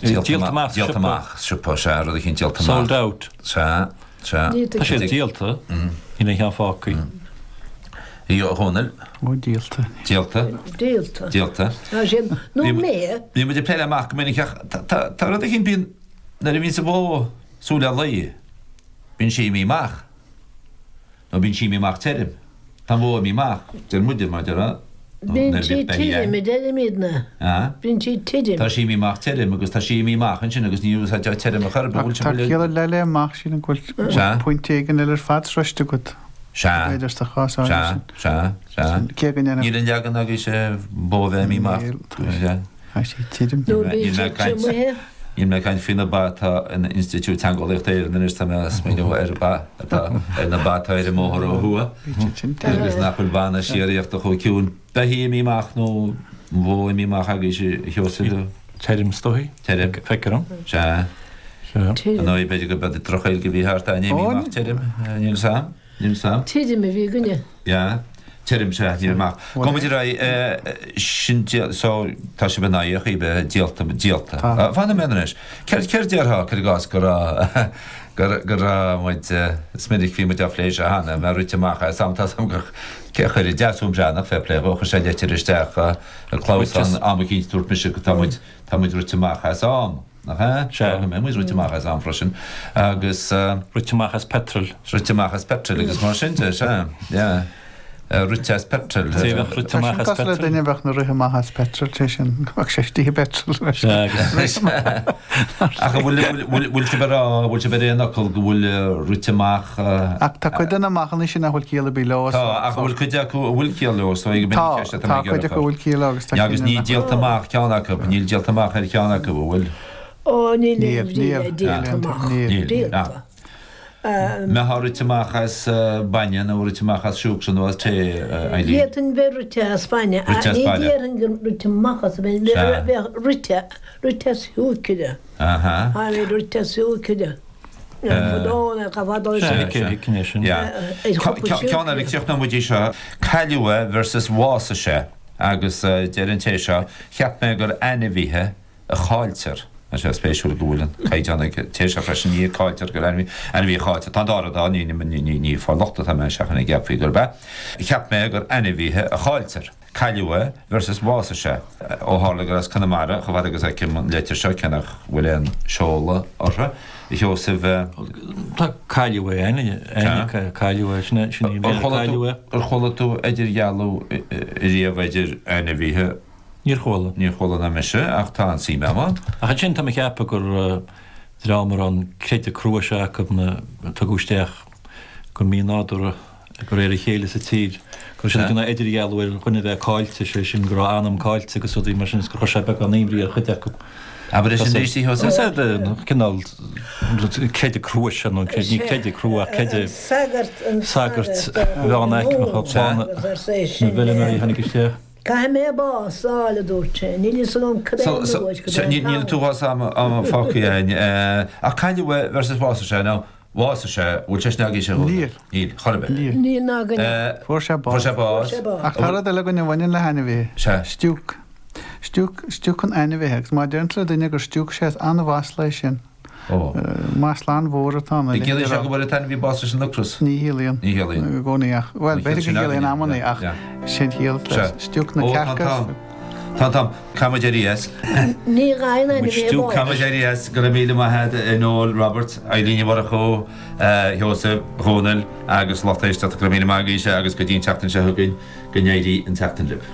Díolta amach sa Díolta siopa. amach sa siopa, sea, rud eicínt díolta amach. Sold out. Sea, sea. Tá siad díolta, níl aon cheann fágtha. A Dhónaill. Ó, díolta. Díolta. Díolta. Díolta. Tá siad, nó mé. Bhí muid ag plé le amach go minic ach tá rud eicínt, bíonn, nuair a bhíonns an bhó súil le lao, bíonn sí imithe amach. Nó bíonn sí imithe amach tirim. Tá an bhó imithe amach, deir muide, mar deir Bíonn sí tirim, a deirimidne. Bíonn sí tirim. Tá sí imithe amach tirim agus tá sí imithe amach ansin agus ní úsáidtear tirim ar chor ar bith. Ach tá ciall ar leith le amach, sílim go bhfuil pointe éigin eile ar fad sroiste agat. Sea. B'fhéidir sa chás áirithe Sea, sin. sea, sea. Cé go ndéanfadh. Níl an leagan agaibhse bó a bheith imithe amach. Tá sí tirim. Nó bíonn sí triomaithe. Níl mé ag caint faoi na ba atá in Institiúid Teangeolaíochta Éireann anois, tá mé ag smaoineamh ar ba atá ar na ba atá ar an mbóthar ó thuaidh agus nach bhfuil banna síoraíochta chomh ciúin. Beithígh imithe amach nó an bhó imithe amach agaibhse, a Sheosaimh? Tirim is dóigh. Tirim. Feictear dom. Sea. Sea. Ar ndóigh, b'fhéidir go b'é droch-Ghaeilge a bhí thart a'inn imithe amach tirim. Níl 'fhios a'm. Níl 'fhios a'm. Tirim a bhí againne. Yeah. Tirim, sea, ní raibh amach. Gabhfaidh muid ar aghaidh, sin díol, so, tá sibh in aghaidh a bheith díolta, díolta. Tá. Fan nóiméad anois. Céard, céard déarfá, cuir i gcás, go raibh, go, go raibh muid, is minic bhí muid á phlé seo cheana, mé rite amach as am, tá 's a'm gur, cé a chuir, Deasún Breathnach, fair play dhó, chuir sé leitir isteach ar clamhsán am eicínt, dúirt mise go tá muid, tá muid rite amach as am. Nach ea? Sea. Go mbeidh muid rite amach as am freisin agus. Rite amach as petrol. Rite amach as petrol agus mar sin de, sea. Yeah. Rite as petrol. Cé bheadh rite Tá amach sin as cosúil le petrol? duine a bheadh ina rith amach as petrol, sé sin, go mbeadh sé istigh i bpetrol leis. Sea, agus. Ach an bhfuil, bhfuil, bhfuil sibh ag rá, bhfuil sibh ar aon fhocal go bhfuil rite amach. Ach tá cuid de na amachanna sin nach bhfuil ciall ar bith leo. Tá, ach an bhfuil cuid acu a bhfuil ciall leo, so ag Tá, tá cuid acu a bhfuil ciall leo agus tá Agus cinn ní eile nach díolta amach ceann acu, níl díolta amach ar cheann acu, an bhfuil? Ó, níl Níl, aon bhrí níl, le díolta amach. níl. Níl, Díolta. ah. Mbeifeá rite amach as bainne nó rite amach as siúcra nó as tae, Eileen? D'fhéadfainn bheith rite as bainne, Rite ach as ní bainne. déarfainn gur rite amach as bainne, Sea. bheadh rite, rite as siúcra. Aha. Táimid rite as siúcra. Ceann eile, críochnóidh muid í seo. Cailleadh é versus bhásaigh sé agus deir an té seo, cheap mé gur ainmhithe a chailltear. Tá sé spéisiúil go bhfuil an caighdeán ag an té seo freisin, ní cailltear gur ainmhí a chailltear. Tá an dá rud ann, ní ag fáil locht atá mé seachain go gceapfaí gurb ea. Cheap mé gur ainmhithe a chailltear. Cailleadh é versus bhásaigh sé. Ó tharla gur as Conamara, chomh fada agus a fheicim an leitir seo, cé nach bhfuil aon seoladh uirthi, a Sheosaimh. Tá cailleadh é, ainmhithe, cailleadh é, sin é, sin í, cailleadh é. Ar chuala tú idirdhealú riamh idir ainmhithe? Níor chuala. Níor chuala ná mise, ach tá an suim agam ann. Ach ansin tá mé ag ceapadh gur dream a raibh an creideamh crua seo acu a tugadh isteach go mínádúrtha de réir a chéile sa tír, go raibh siad ag déanamh idirdhealú ar dhuine a bheith caillte, sé sin go raibh a anam caillte agus rudaí mar sin is gur chuir sé beagán imní ar chuid acu. Abair é sin arís, a Sheosaimh. Is é cineál creideamh crua sin, nó ní creideamh crua ach creideamh sagairt mheánaicmeacha clanna na bhfeilméaraí a tháinig isteach. Caithfidh mé bás a fháil, a dúirt sé. Níl fhios agam cad é an uair, cad é an t-am. Níl tú am fágtha againn. Ach cailleadh é versus bhásaigh sé, nó Bhásaigh sé, bhfuil sé sin agaibhse a Dhónaill? Níl. Níl, chor ar bith. Níl. Níl ná againne. Fuair sé bás. Fuair sé bás. Fuair sé bás. Ach tá rud eile againn a bhaineann le hainmhithe. Sea. Stiúc. Stiúc, stiúcann ainmhithe agus má deireann tú le duine gur stiúc sé is an-mhasla é sin. Ó. Masla an-mhór atá ann. An gciallaíonn sé go bhfuair an t-ainmhí bás leis an ocras? Ní chiallaíonn. Ní chiallaíonn. I gcónaí ach, bhuel, b'fhéidir go gciallaíonn amannaí ach sin chiall le stiúc na Ó, tá an cearca. t-am. Tá an t-am. Caithfidh muid éirí as. Ní ghaibheann ainmhí bás. Caithfidh muid éirí as. Go raibh míle maith agat, a Noel Roberts, Eileen Ní Mhurchú, a Sheosaimh, Dhónaill agus lucht éisteachta. Go raibh míle maith agaibhse agus go dtí an tseachtain seo chugainn, go n-éirí an tseachtain libh.